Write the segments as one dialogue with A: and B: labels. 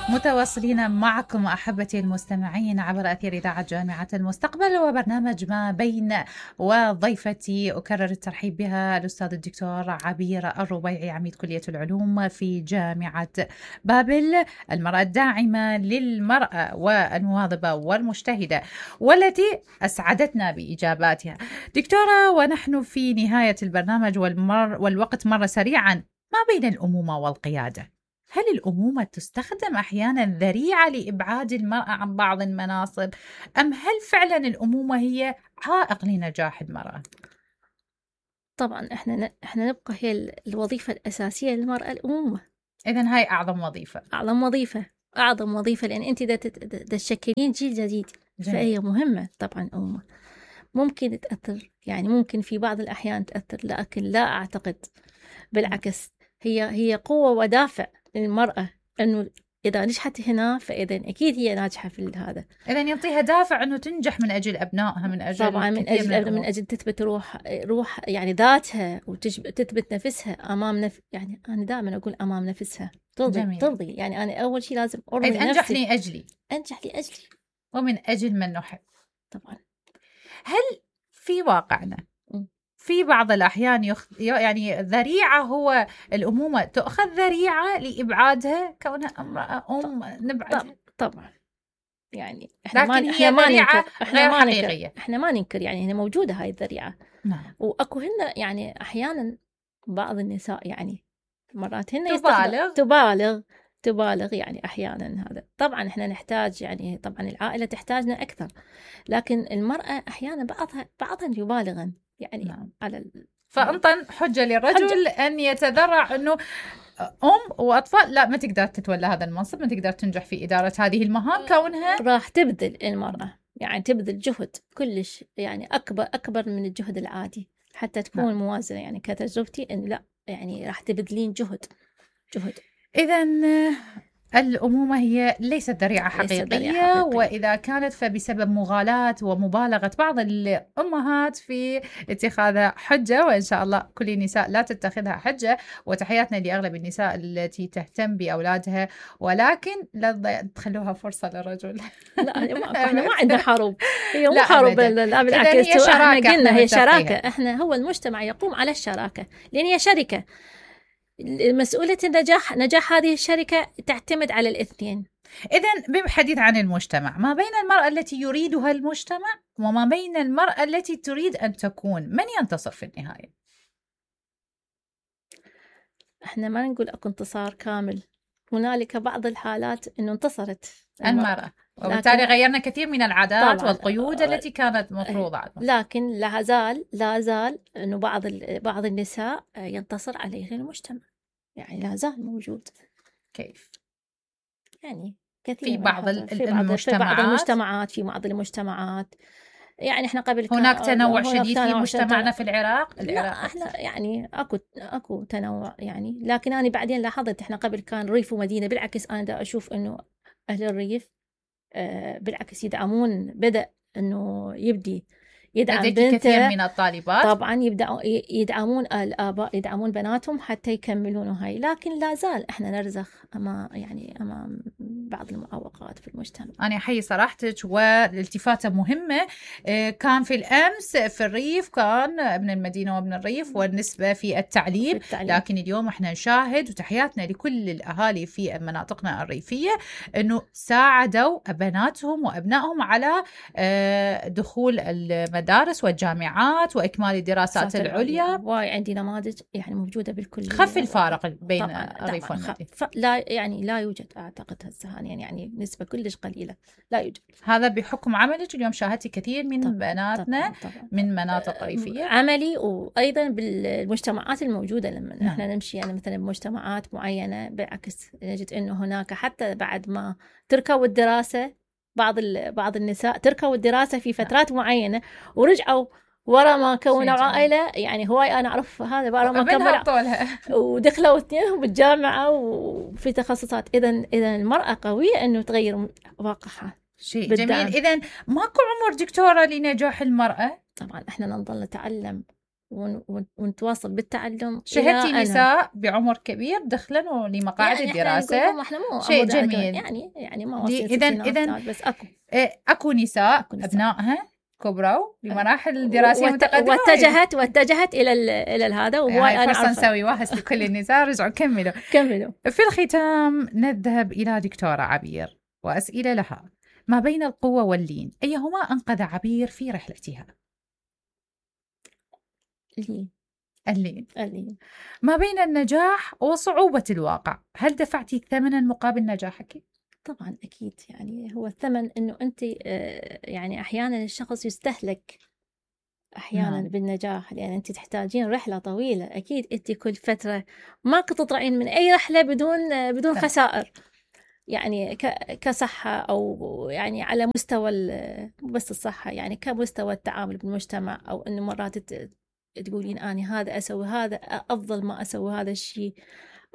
A: متواصلين معكم أحبتي المستمعين عبر أثير إذاعة جامعة المستقبل وبرنامج ما بين، وضيفتي أكرر الترحيب بها الأستاذ الدكتور عبير الربيعي عميد كلية العلوم في جامعة بابل، المرأة الداعمة للمرأة والمواظبة والمجتهدة والتي أسعدتنا بإجاباتها. دكتورة، ونحن في نهاية البرنامج والوقت مر سريعا، ما بين الأمومة والقيادة، هل الأمومة تستخدم أحيانا ذريعة لإبعاد المرأة عن بعض المناصب، أم هل فعلا الأمومة هي عائق لنجاح المرأة؟
B: طبعا احنا نبقى هي الوظيفة الأساسية للمرأة الأمومة.
A: إذن هاي أعظم وظيفة.
B: أعظم وظيفة لأن أنت تشكلين جيل جديد. فهي مهمة طبعا الأمومة. ممكن تأثر، يعني ممكن في بعض الأحيان تأثر، لكن لا أعتقد، بالعكس هي قوة ودافع للمرأة، أنه إذا نجحت هنا فإذا أكيد هي ناجحة في هذا.
A: إذا يعطيها دافع أنه تنجح من أجل أبنائها، من أجل
B: طبعا من أجل تثبت روح يعني ذاتها، وتثبت نفسها أمام يعني أنا دائما أقول أمام نفسها ترضي. يعني أنا أول شيء لازم أرضي نفسي. أنجح لأجلي
A: ومن أجل من نحب.
B: طبعا.
A: هل في واقعنا في بعض الأحيان يعني ذريعة، هو الأمومة تأخذ ذريعة لإبعادها كونها امرأة نبعدها؟
B: طبعا. يعني
A: احنا
B: ما ننكر يعني هنا موجودة هاي الذريعة.
A: نعم.
B: وأكو هنا يعني أحيانا بعض النساء يعني مرات هن تبالغ يعني أحيانا. هذا طبعا احنا نحتاج، يعني طبعا العائلة تحتاجنا أكثر، لكن المرأة أحيانا بعضها يبالغن يعني.
A: نعم.
B: على
A: فأنطن حجة للرجل أن يتذرع أنه وأطفال لا، ما تقدر تتولى هذا المنصب، ما تقدر تنجح في إدارة هذه المهام، كونها
B: راح تبذل المرأة، يعني تبذل جهد كلش، يعني أكبر من الجهد العادي حتى تكون موازنة. يعني كتجربتي أن لا، يعني راح تبذلين جهد.
A: إذن الأمومة هي ليست ذريعة حقيقية، وإذا كانت فبسبب مغالاة ومبالغة بعض الأمهات في اتخاذها حجة، وإن شاء الله كل النساء لا تتخذها حجة، وتحياتنا لأغلب النساء التي تهتم بأولادها، ولكن لا تخلوها فرصة للرجل.
B: لا احنا ما عندنا حروب، هي مو حروب، لا بالعكس، احنا قلنا هي شراكة. احنا هو المجتمع يقوم على الشراكة، لأن هي شركة. مسؤولية نجاح هذه الشركة تعتمد على الاثنين.
A: إذن بالحديث عن المجتمع، ما بين المرأة التي يريدها المجتمع وما بين المرأة التي تريد أن تكون، من ينتصر في النهاية؟
B: احنا ما نقول أكو انتصار كامل، هنالك بعض الحالات أنه انتصرت
A: المرأة، وبالتالي غيرنا كثير من العادات والقيود التي كانت مفروضة عليها.
B: لكن لا زال أنه بعض النساء ينتصر عليه المجتمع، يعني لا زال موجود.
A: كيف؟
B: يعني كثير
A: في بعض
B: المجتمعات يعني احنا قبل
A: هناك تنوع شديد في مجتمعنا في العراق.
B: لا احنا يعني اكو تنوع يعني، لكن انا بعدين لاحظت احنا قبل كان ريف ومدينة. بالعكس انا دا اشوف انه اهل الريف بالعكس يدعمون، بدأ انه يدعم بنته.
A: كثير من الطالبات
B: طبعا يدعمون الآباء، يدعمون بناتهم حتى يكملون هاي، لكن لا زال احنا نرزخ امام بعض المعوقات في المجتمع.
A: انا احيي صراحتك والالتفاته مهمه. كان في الامس في الريف كان ابن المدينه وابن الريف والنسبه في التعليم، لكن اليوم احنا نشاهد، وتحياتنا لكل الاهالي في مناطقنا الريفيه، انه ساعدوا بناتهم وابنائهم على دخول المدارس والجامعات وإكمال الدراسات العليا.
B: وعندي نماذج يعني موجودة بالكل.
A: خف الفارق بين الريف والمدينة.
B: لا يوجد أعتقد هسه يعني نسبة كلش قليلة، لا يوجد.
A: هذا بحكم عملك اليوم شاهدتي كثير من بناتنا من مناطق ريفية.
B: عملي، وأيضا بالمجتمعات الموجودة لما احنا نمشي يعني مثلا بمجتمعات معينة، بالعكس نجد إنه هناك حتى بعد ما تركوا الدراسة، بعض النساء تركوا الدراسة في فترات معينة ورجعوا ورا ما كونوا عائلة. يعني هواي أنا أعرف هذا ورا ما كملوا ودخلوا اثنينهم بالجامعة وفي تخصصات. إذن المرأة قوية إنه تغير واقعها.
A: شيء جميل. إذن ماكو عمر دكتورة لنجاح المرأة؟
B: طبعا إحنا نظل نتعلم ونتواصل بالتعلم.
A: شهدتي نساء بعمر كبير دخلوا لمقاعد
B: يعني
A: الدراسة،
B: احنا مو
A: شيء جميل.
B: يعني ما وصلت
A: إذن
B: بس
A: أكو نساء أبنائها كبروا بمراحل الدراسية متقدمة
B: واتجهت إلى هذا، وهو
A: أنا فرصة نسوي واهس لكل النساء. رجعوا كملوا. في الختام نذهب إلى دكتورة عبير وأسئلة لها. ما بين القوة واللين أيهما أنقذ عبير في رحلتها؟ اللين. ما بين النجاح وصعوبة الواقع، هل دفعتي ثمنا مقابل نجاحك؟
B: طبعا أكيد، يعني هو الثمن أنه أنت يعني أحيانا الشخص يستهلك أحيانا بالنجاح، لأن أنت تحتاجين رحلة طويلة. أكيد أنت كل فترة ما كنت تطلعين من أي رحلة بدون خسائر، يعني كصحة أو يعني على مستوى مو بس الصحة، يعني كمستوى التعامل بالمجتمع، أو أنه مرات تقولين أنا هذا أسوي هذا أفضل ما أسوي هذا الشيء،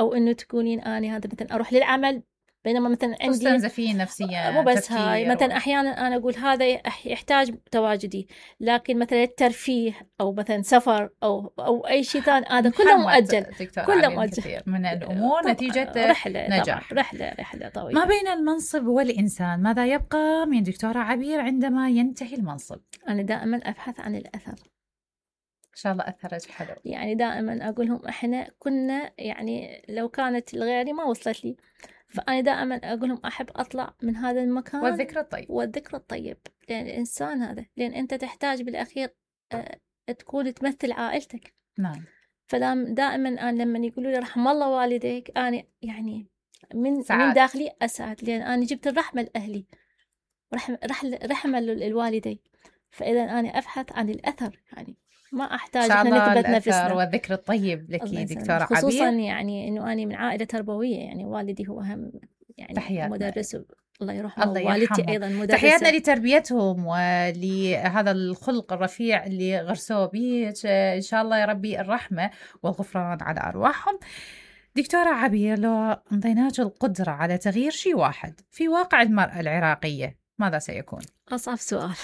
B: أو أنه تقولين أنا هذا مثلا أروح للعمل بينما مثلا عندي
A: تستنزفين نفسيا.
B: مو بس هاي، مثلا أحيانا أنا أقول هذا يحتاج تواجدي، لكن مثلا الترفيه أو مثلا سفر أو أي شيء ثاني هذا كله مؤجل.
A: كله مؤجل من الأمور نتيجة نجاح.
B: رحلة طويلة.
A: ما بين المنصب والإنسان ماذا يبقى من دكتورة عبير عندما ينتهي المنصب؟
B: أنا دائما أبحث عن الأثر.
A: إن شاء الله أثرج حلو.
B: يعني دائما أقول لهم إحنا كنا، يعني لو كانت لغيري ما وصلت لي، فأنا دائما أقول لهم أحب أطلع من هذا المكان والذكر الطيب لأن الإنسان هذا، لأن أنت تحتاج بالأخير تكون تمثل عائلتك.
A: نعم.
B: دائما أنا لما يقولوا لي رحم الله والديك، أنا يعني من داخلي أسعد، لأن أنا جبت الرحمة لأهلي، رحمة للوالدي. فإذا أنا أبحث عن الأثر، يعني ما أحتاج إحنا نثبت نفسنا.
A: والذكر الطيب لك دكتورة عبير،
B: خصوصا يعني إنه أنا من عائلة تربوية، يعني والدي هو أهم يعني
A: تحياتنا.
B: مدرس، الله يرحمه، والدتي أيضا مدرسة.
A: تحياتنا لتربيتهم ولهذا الخلق الرفيع اللي غرسوه به، إن شاء الله يا ربي الرحمة والغفران على أرواحهم. دكتورة عبير، لو انطيناك القدرة على تغيير شيء واحد في واقع المرأة العراقية ماذا سيكون؟
B: أصعب سؤال.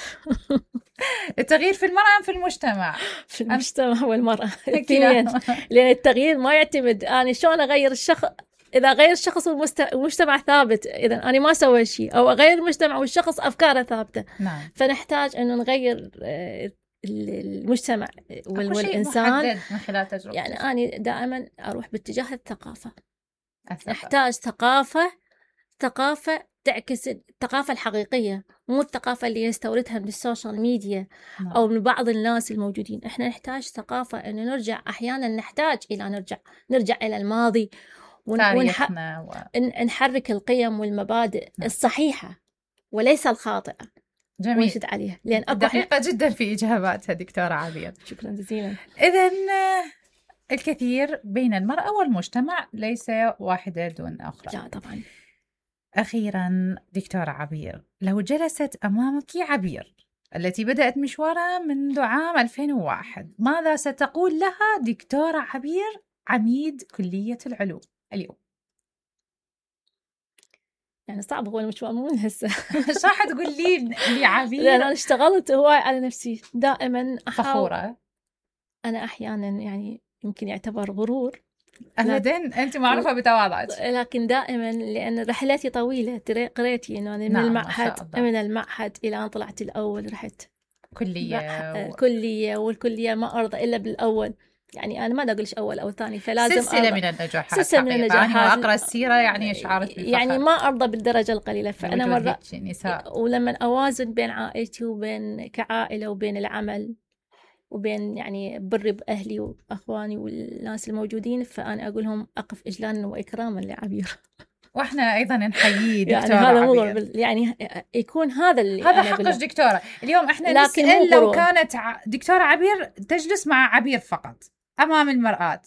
A: التغيير في المرأة أم في المجتمع؟
B: في المجتمع والمرأة الاثنين، لأن التغيير ما يعتمد أنا شلون أغير الشخص. إذا غير الشخص والمجتمع ثابت، إذا أنا ما سوي شيء، أو أغير المجتمع والشخص أفكاره ثابتة.
A: نعم.
B: فنحتاج إنه نغير المجتمع والإنسان
A: من خلال تجربة.
B: يعني أنا دائما أروح باتجاه الثقافة. نحتاج ثقافة تعكس الثقافة الحقيقية، مو الثقافة اللي يستوردها من السوشيال ميديا أو من بعض الناس الموجودين. إحنا نحتاج ثقافة إنه نرجع، أحيانا نحتاج إلى نرجع إلى الماضي ونحرك القيم والمبادئ الصحيحة وليس الخاطئة.
A: جميل.
B: ونشد عليها، لأن
A: دقيقة جدا في إجاباتها دكتورة عبير.
B: شكرا جزيلا.
A: إذن الكثير بين المرأة والمجتمع، ليس واحدة دون أخرى.
B: لا طبعا.
A: أخيرا دكتورة عبير، لو جلست أمامك عبير التي بدأت مشوارها منذ عام 2001، ماذا ستقول لها دكتورة عبير عميد كلية العلوم اليوم؟
B: يعني صعب، هو المشوار مو من هسه.
A: ايش راح تقول لي عبير؟
B: لأن أنا اشتغلت هواي على نفسي، دائما
A: فخورة.
B: أنا أحيانا يعني يمكن يعتبر غرور،
A: أبداً أنت معروفة بتواضعك،
B: لكن دائما لأن رحلتي طويلة. قريتي إنه أنا من المعهد إلى أن طلعت الأول، رحت كلية والكلية ما أرضى إلا بالأول. يعني أنا ما أقولش أول أو ثاني، فلازم
A: سلسلة من النجاحات. أنا أقرأ السيرة يعني شعرت بالفخر،
B: يعني ما أرضى بالدرجة القليلة. فأنا مرة ولما أوازن بين عائلتي وبين كعائلة وبين العمل وبين يعني بري بأهلي وأخواني والناس الموجودين، فأنا أقولهم أقف إجلالا وإكراما لعبير.
A: وإحنا أيضا نحيي دكتورة
B: يعني هذا
A: عبير،
B: يعني يكون هذا
A: حقك دكتورة. اليوم إحنا نسأل لو كانت دكتورة عبير تجلس مع عبير فقط أمام المرآة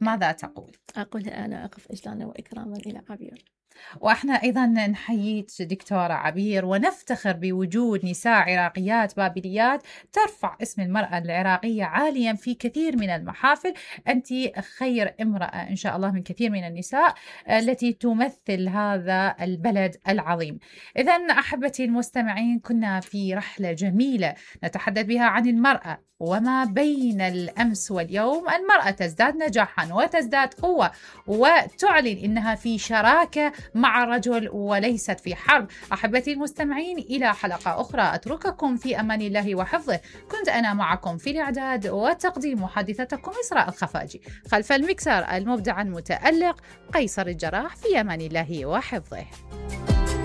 A: ماذا تقول؟
B: أقول أنا أقف إجلالا وإكراما إلى عبير.
A: وإحنا أيضا نحييك دكتورة عبير، ونفتخر بوجود نساء عراقيات بابليات ترفع اسم المرأة العراقية عاليا في كثير من المحافل. أنت خير امرأة إن شاء الله من كثير من النساء التي تمثل هذا البلد العظيم. إذن أحبتي المستمعين، كنا في رحلة جميلة نتحدث بها عن المرأة وما بين الأمس واليوم المرأة تزداد نجاحا وتزداد قوة وتعلن إنها في شراكة مع الرجل وليست في حرب. أحبتي المستمعين، إلى حلقة أخرى أترككم في أمان الله وحفظه. كنت أنا معكم في الإعداد والتقديم محدثتكم إسراء الخفاجي، خلف المكسر المبدع المتألق قيصر الجراح. في أمان الله وحفظه.